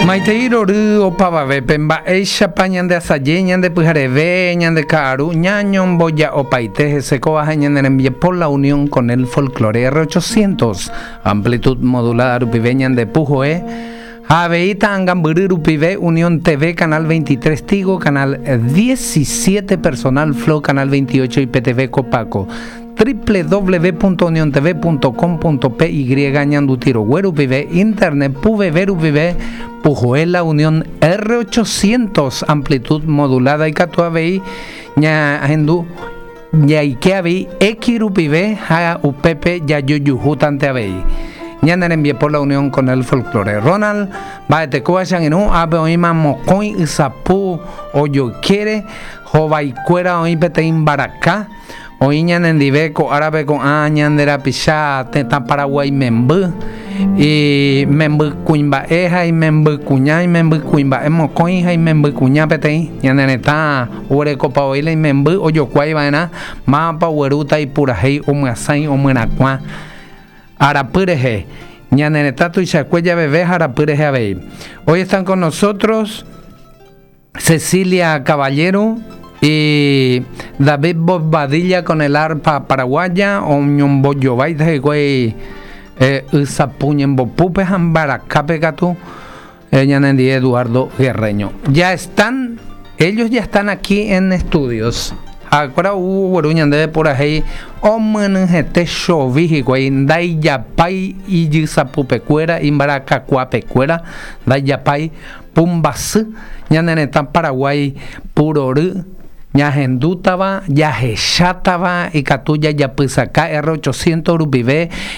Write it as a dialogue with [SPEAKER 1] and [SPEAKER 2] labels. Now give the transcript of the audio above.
[SPEAKER 1] Maitei rory opavavépe, mba'éichapa ñande asaje, ñande pyhareve, ñande ka'aru, ñañomboja'opaite hese kóva ha ñane rembiapo La Unión con el Folklore R800, amplitud modulada rupive ñande puhoe, ha avei ta'angambyry rupive Unión TV canal 23 Tigo, canal 17 Personal Flow, canal 28 IPTV Copaco, www.uniontv.com.py ñanduti rogue rupive, internet puveve rupive, puhoe La Unión R800 amplitud modulada ikatu avei ñahendu jaike avei X rupive ha upépe jajojuhútante avei. Ñane rembiapo La Unión con el Folklore. Ronald, mba'etekóva che angirũ, ápe oĩma mokõi ysapu ojoykére, hovaikuéra oĩ peteĩ mbaraka, Oĩ ñanendive ko árape ko'ã ñande rapicha tetã Paraguái memby, imemby kuimba'e ha imemby kuña, imemby kuimba'e mokõi ha imemby kuña peteĩ. Ñane retã oguerekopa voi la imemby ojokuái va'erã mávapa oguerúta ipurahéi omyasãi omyerakuã arapy rehe. Ñane retã tuichakue javeve ha arapy rehe avei. Hoy están con nosotros Cecilia Caballero y David Bobadilla con el arpa paraguaya oñombojováita hikuái eh, ysapu ñembopúpe ha mbarakápe katu eh, ñanendie Eduardo Guerreño. Ya están, ellos ya están aquí en estudios. Ha'ekuéra ou ogueru ñandéve purahéi omyenyhẽte chovi hikuái ndaijapái ijysapupekuéra, imbarakakuapekuéra, ndaijapái Pumbasy, ñane retã Paraguái purory ñahendútava, jahechátava, ikatu jajapysaka R 800 rupive.